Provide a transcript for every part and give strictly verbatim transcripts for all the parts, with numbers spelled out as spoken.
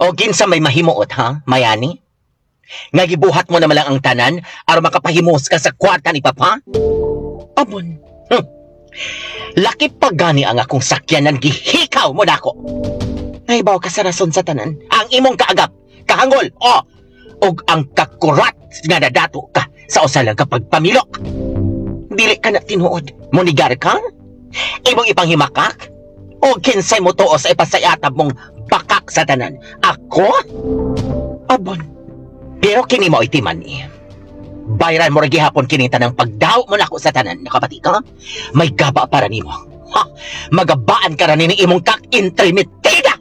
O kinsa may mahimuot ha, Mayani? Nga gibuhat mo naman lang ang tanan aron makapahimos ka sa kwarta ni Papa? Abon. Hmm. Laki pa gani ang akong sakyanan gihikaw mo nako. Nahibaw ka sa rason sa tanan. Ang imong kaagap, kahangol, o og ang kakurat nga nadato ka sa usa lang ka pagpamilok. Dili ka na tinuod. Munigar ka? Imong ipanghimakak? O kinsay mo tuo sa ipasayatab mong bakak sa tanan? Ako? Abon. Pero kini mo itiman eh. Bayran mo ra gihapon kini tanang pagdaw mo nako sa tanan. Nakabati ka? May gaba para nimo. Ha! Magabaan ka ra ni imong kak-intrimitida!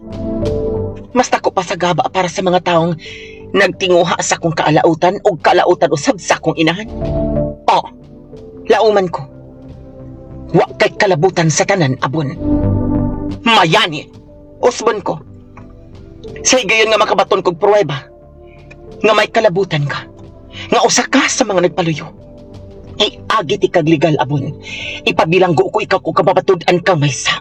Mas dako pa sa gaba para sa mga taong nagtinguha sa akong kaalautan o kaalautan usab sa akong inahan. Oh, lauman ko. Wa kay kalabutan sa tanan, abon. Mayani, usbon ko. Sa higayon nga makabaton kog pruweba, nga may kalabutan ka, nga usa ka sa mga nagpaluyo. Iagi ti kag legal, abon. Ipabilanggo ko ikaw kung kababatud-an kang may sa.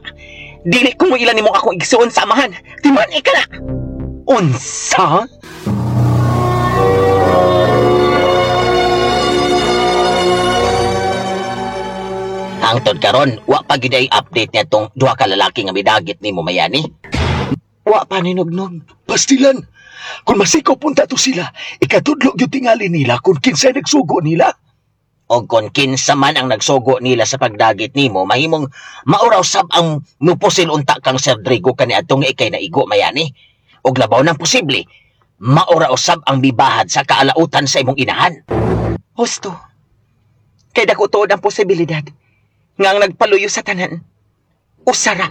Dili ko mo ilan nimo akong igsuon sa amahan. Timan ika na! Unsa? Hangtod karon, wa pa gid ay update niya tong duha ka lalaki nga midagit nimo Mayani. Wa pa ni nugnog. Pastilan, kung masikaw punta to sila, ikatudlo gyud tingali nila kung kinsay nagsugo nila. O kung kinsa man ang nagsugo nila sa pagdagit nimo, mahimong mauraw sab ang mupusil unta kang Sir Drigo kaniadtong nga ikay naigo Mayani. Og labaw nang posible, maura usab ang bibahad sa kaalautan sa imong inahan. Husto. Kay dako tuod ang posibilidad nga ang nagpaluyo sa tanan, usara.